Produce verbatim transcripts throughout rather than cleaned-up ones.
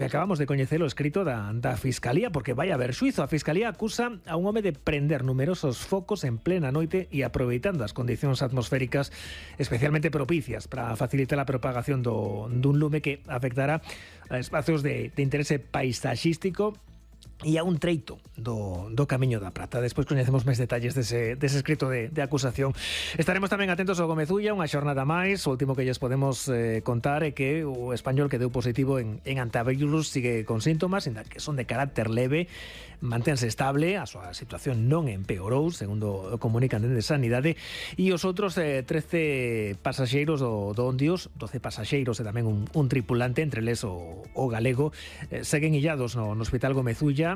Acabamos de coñecer o escrito da, da Fiscalía, porque vai haber xuizo. A Fiscalía acusa a un home de prender numerosos focos en plena noite e aproveitando as condicións atmosféricas especialmente propicias para facilitar a propagación do, dun lume que afectará a espacios de, de interese paisaxístico e a un treito do, do Camiño da Prata. Despois coñecemos máis detalles dese, dese escrito de, de acusación. Estaremos tamén atentos ao Gomezulla, unha xornada máis. O último que lles podemos eh, contar é que o español que deu positivo en, en antivirus sigue con síntomas, ainda que son de carácter leve, manténse estable, a súa situación non empeorou, segundo comunican dende Sanidade, e os outros eh, trece pasaxeiros do, do Ondios, doce pasaxeiros e tamén un, un tripulante, entre eles o, o galego, eh, seguen illados no, no Hospital Gomezulla.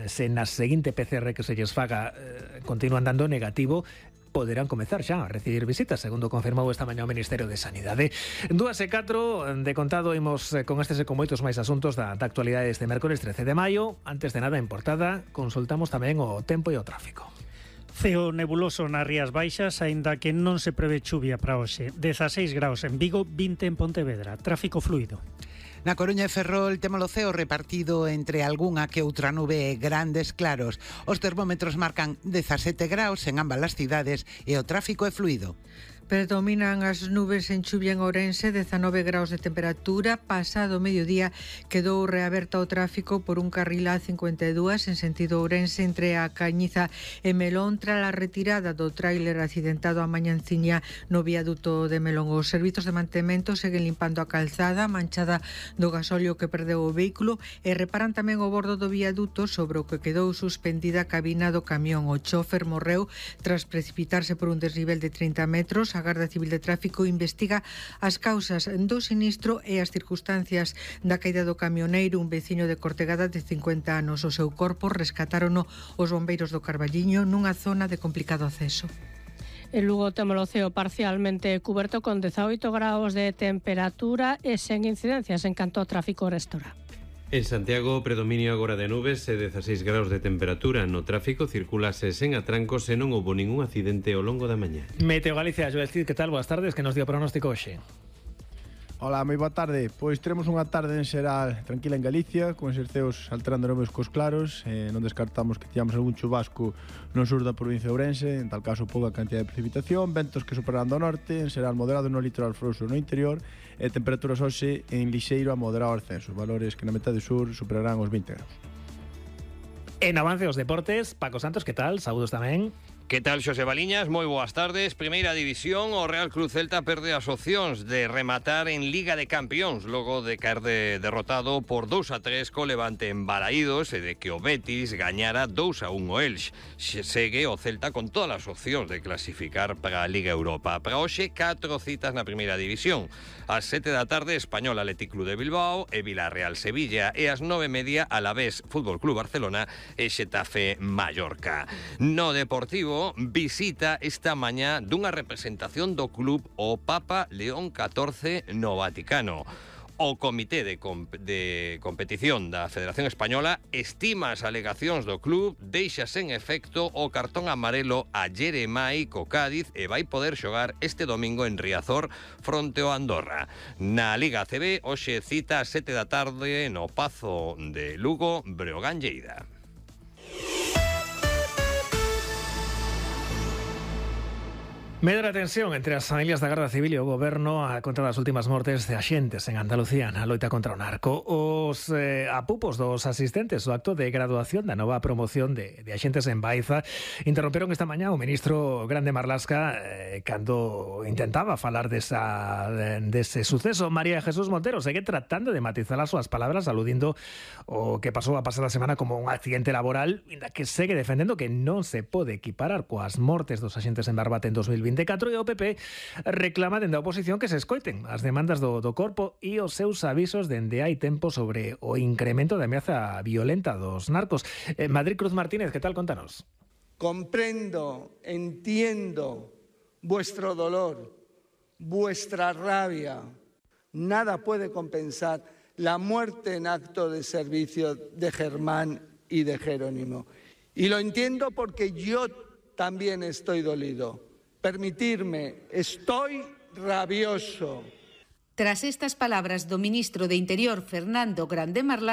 Se na seguinte P C R que se lles faga eh, continúan dando negativo, poderán comezar xa a recibir visitas, segundo confirmou esta mañá o Ministerio de Sanidade. Dúas e catro, de contado, imos eh, con estes e con moitos máis asuntos da, da actualidade este mércoles trece de maio. Antes de nada, en portada, consultamos tamén o tempo e o tráfico. Ceo nebuloso nas Rías Baixas, aínda que non se prevé chuvia para hoxe. dezaseis graus en Vigo, vinte en Pontevedra. Tráfico fluido. Na Coruña e Ferrol temos o ceo repartido entre algunha que outra nube e grandes claros. Os termómetros marcan dezasete graus en ambas as cidades e o tráfico é fluido. Predominan as nubes en chuvia en Ourense, dezanove graus de temperatura. Pasado o mediodía quedou reaberta o tráfico por un carril A cincuenta e dous en sentido Ourense entre a Cañiza e Melón tras a retirada do tráiler accidentado a mañanciña no viaduto de Melón. Os servizos de mantemento seguen limpando a calzada manchada do gasóleo que perdeu o vehículo e reparan tamén o bordo do viaduto sobre o que quedou suspendida a cabina do camión. O chofer morreu tras precipitarse por un desnivel de trinta metros. A Garda Civil de Tráfico investiga as causas do sinistro e as circunstancias da caída do camioneiro, un veciño de Cortegada de cincuenta anos. O seu corpo rescatárono os bombeiros do Carballiño nunha zona de complicado acceso. En Lugo temos o ceo parcialmente cuberto con dezaoito graus de temperatura e sen incidencias en canto ao tráfico restora. En Santiago, predominio agora de nubes e dezaseis graus de temperatura. No tráfico circulase sen atrancos e non houbo ningún accidente ao longo da mañá. Meteo Galicia, Joel Cid, que tal? Boas tardes, que nos dio pronóstico hoxe. Ola, moi boa tarde. Pois teremos unha tarde en xeral tranquila en Galicia, con eses ceos alterando nubes cos claros. eh, Non descartamos que teamos algún chubasco no sur da provincia de Ourense, en tal caso pouca cantidad de precipitación, ventos que superan do norte, en xeral moderado no litoral frouxo no interior, e temperaturas hoxe en lixeiro a moderado ascenso, valores que na metade sur superarán os vinte graus. En avance os deportes, Paco Santos, que tal? Saúdos tamén. Que tal, Xosé Baliñas? Moi boas tardes. Primeira división, o Real Club Celta perde as opcións de rematar en Liga de Campións logo de caer de derrotado por dous a tres co Levante en Balaídos e de que o Betis gañara dous a un o Elx. Segue o Celta con todas as opcións de clasificar para a Liga Europa. Para hoxe, catro citas na primeira división. Ás sete da tarde, Español Athletic Club de Bilbao e Villarreal Sevilla, e ás nove e media, Alavés Fútbol Club Barcelona e Xetafe Mallorca. No Deportivo, visita esta mañá dunha representación do club o Papa León catorce no Vaticano. O Comité de, comp de Competición da Federación Española estima as alegacións do club, deixa sen efecto o cartón amarelo a Jeremai co Cádiz e vai poder xogar este domingo en Riazor fronte ao Andorra. Na Liga A C B, hoxe cita a sete da tarde no Pazo de Lugo, Breogán Lleida. Medra tensión entre as familias da Garda Civil e o Goberno a contra das últimas mortes de axentes en Andalucía na loita contra o narco. Os eh, apupos dos asistentes do acto de graduación da nova promoción de, de axentes en Baiza interromperon esta mañá o ministro Grande Marlasca eh, cando intentaba falar desa, de, dese suceso. María Jesús Montero segue tratando de matizar as súas palabras aludindo o que pasou a pasada semana como un accidente laboral, inda que segue defendendo que non se pode equiparar coas mortes dos axentes en Barbate en dos mil vinte e catro, e o P P reclama dende a oposición que se escoiten as demandas do, do corpo e os seus avisos dende hai tempo sobre o incremento da ameaza violenta dos narcos. Eh, Madrid Cruz Martínez, que tal? Contanos. Comprendo, entiendo vuestro dolor, vuestra rabia. Nada puede compensar la muerte en acto de servicio de Germán y de Jerónimo. Y lo entiendo porque yo también estoy dolido. Permitirme, estoy rabioso. Tras estas palabras do ministro de Interior, Fernando Grande Marlasca,